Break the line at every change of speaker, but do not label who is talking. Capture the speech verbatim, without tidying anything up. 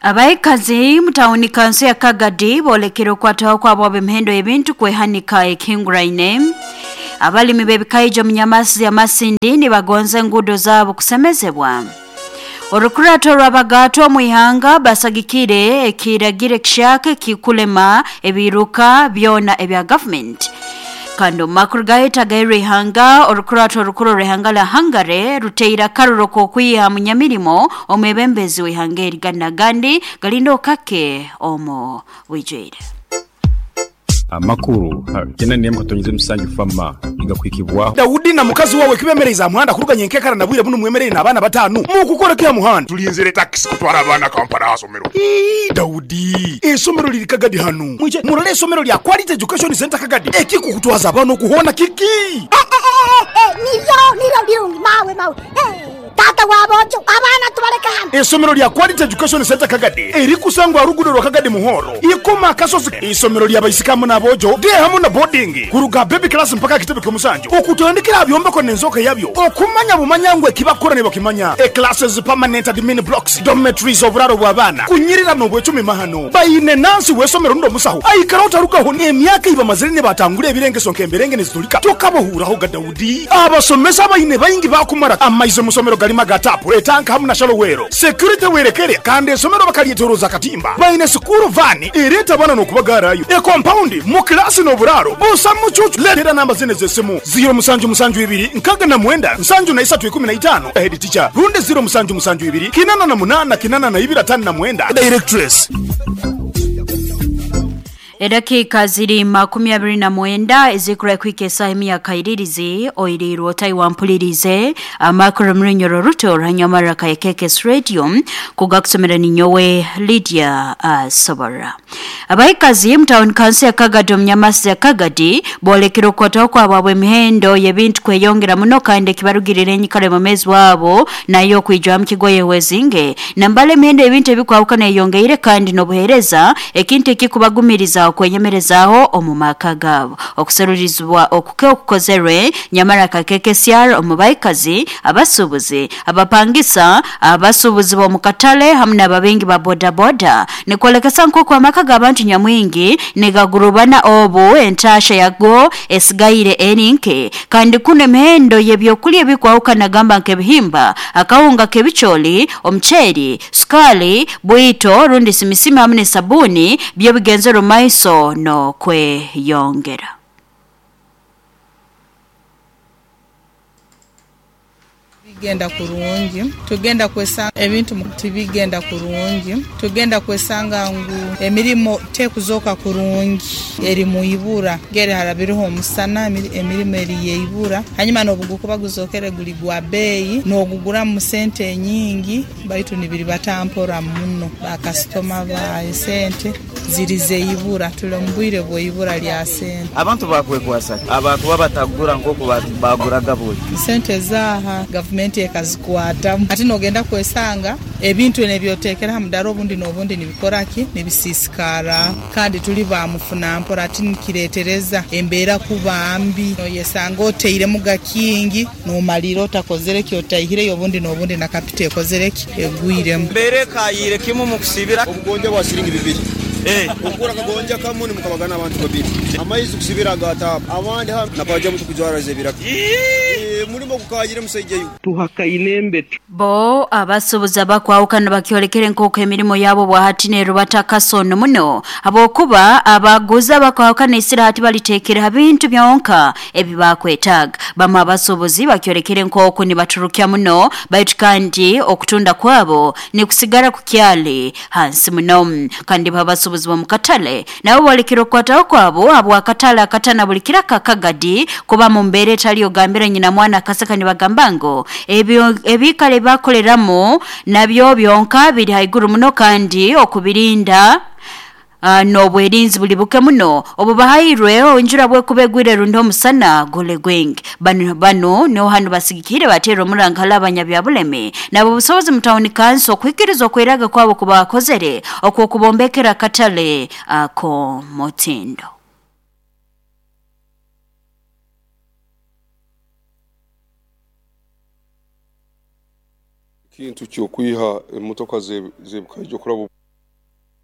Abaikazi mutauni kanso ya Kagadi bolekera okwataho kwabo ab'emihendo y'ebintu kwehanika ekihinguraine. Abalimi b'ebikaija mu Nyamasi ya Masindi nibagonza enguudo zaabo kusemezebwa. Orukurato rw'abagato omu ihanga basagikire ekiragiro kishaka kikulema ebiruka byona ebya government. Kandi omu makuru gaheta ihanga orukurato orukuru rw'ihanga la Hungary ruteire akaruro k'okwiha munyamirimo omwebembezi w'ihanga eri Gandi galindo kake omu bwijwire.
Amakuru kena nemu katonyize musanju fama igakwikibwa
Daudi na mukazi wawe kibemereza muhanda kuruganya enkekara na bwire buno mwemerere n'abaana batanu mukukora kya muhanda
tulinzire taxi kutwara abaana Kampala asomero.
Ii Daudi esomero liri Kagadi hanu mwije murole esomero lya Quality Education Center Kagadi ekikukutwaza abaana okuhona kiki
nivyo nivyo birungi mawe mawe tata wabojo abaana tubaleka hano.
Esomero lya Quality Education Center Kagadi eri kusangwa rugudo rwa Kagadi Muhoro ikoma kasozi. Isomero lya baisikamu n'abojo de hamu na boarding kuruga baby class mpaka kitebe ky'omusanju okutandikira byombeko n'enzoka yabyo okumanya bumanyangwe kibakora ne bakimanya e classes permanent admin blocks dormitories oburaro bw'abaana kunyirira n'obwecumi mahano bayine nansi wesomero ndo musaho aikara otarugaho n'emyaka iba mazire ne batangule ebirengeso nk'emberenge nezitulika tokabohuraho ga Daudi abasomesa bayine bayingi bakumara amaize musomero galima gatapu etanka hamu na shalowero security werekere kandi esomero bakalyeteroza katimba bayine sukuru vani ereta bana n'okubagarayo e compound mu klasi n'oburaro busa mucucu letera namba zine z'essimu zero musanju musanju ibiri nkaga na mwenda nsanju na isatu ikumi na itano head teacher runde zero musanju musanju ibiri kinana na munana kinana na ibiri atano na mwenda directress.
Edakika ziri makumi abiri na mwenda ezikura kwike saha ya kairirizi oirirwo taiwampulirize amakuru mrinyoro ruto ranyamara ka Kekes Radio kugakusomera ni nyowe Lydia uh, Sobora. Abaikazi mtown council ya Kagadi Nyamasi ya Kagadi bolekera okwataho kwabo emihendo y'ebintu kweyongera muno kandi kibarugirire enyikara mu mezi wabo nayo kwijwa mu kigoye wezinge nambale emihendo ebintu ebikwawukana eyongeire kandi n'obuhereza ekintu ekikubagumiriza okwenyemerezaho omu maka gabo okuserurizwa okuke okukozerwe nyamara ka K K C R omu baikazi abasubuzi abapangisa abasubuzi bo mukatale hamwe n'ababengi ba boda boda nikolekesa nk'oku amaka g'abantu nyamwingi nigagurubana obu entasha yago esigaire erinke kandi kuno emihendo y'ebyokulya ebikwawukana gamba nk'ebihimba akawunga k'ebicholi omuceeri sukali bwito rundi simisimi hamwe n'esabuni byo bigenzero maiso no kweyongera.
Bigenda kurungi tugenda kwesanga ebintu tibigenda kurungi tugenda kwesanga ngu emirimo tekuzoka kurungi eri muibura gere harabiriho omusana emirimo eri yeibura hanyuma nobugukuba guzokere guli gwa beyi nogugura mu sente nyingi baitu nibiri batampora muno bakastoma ba sente ziri zeibura tulombwire bwoibura lya sente
abantu bakwekwasa abantu babatagura nkoko baguraga boyi
sente zaha government ekazikwata ati nogenda kwesanga ebintu nebyotekera hamudaro obundi nobundi nibikoraki nibisisikara kandi tuli bamufuna mpora ati nikiretereza embeera kubambi noyesanga oteire mugakingi nomalira otakozere ki otahire obundi nobundi na kapite ekozere ki egwiremu
mbere kayire kimu mukusibira
obugonja bwa shilingi bibiri eh okura kagonja kamuni mukabagana abantu babiri amaizi kusibira gata abandi napaja mutu kujwara zebira mulimo kukayire musaijeyo
tuhakainembe
bo abasubuza bakwawukana bakyolekere nk'oku emirimo yabo bwahati nerubata kasono muno abokuba abaguza bakwawukana isirahati balitekera bintu byonka ebibakwetaaga bamwe abasubuzi bakyolekere nk'oku nibaturukya muno baitu kandi okutunda kwabo nikusigara kukyali hansi muno kandi babasubuzi bomukatale nabo bolekere okwataho kwabo abwakatale akatana buli kiraka Kagadi kuba mu mbeera etali ogambira nyina mwana akaseka nibagamba ngo ebyo ebikale bakoleramo nabyo byonka biri haiguru muno kandi okubirinda Uh, n'obwerinzi buli buke muno obubahairwe onjura bwekubegwire rundi omusana gole gwingi bano bano niho hano basigikire batera omurangala abanyabyabuleme nabo busobozi mu town council okwikiriza okweraga kwabo kubakozere okwokubombekera katale ako mutindo.
Kintu kyokwiha emotoka zebukaijo kurabo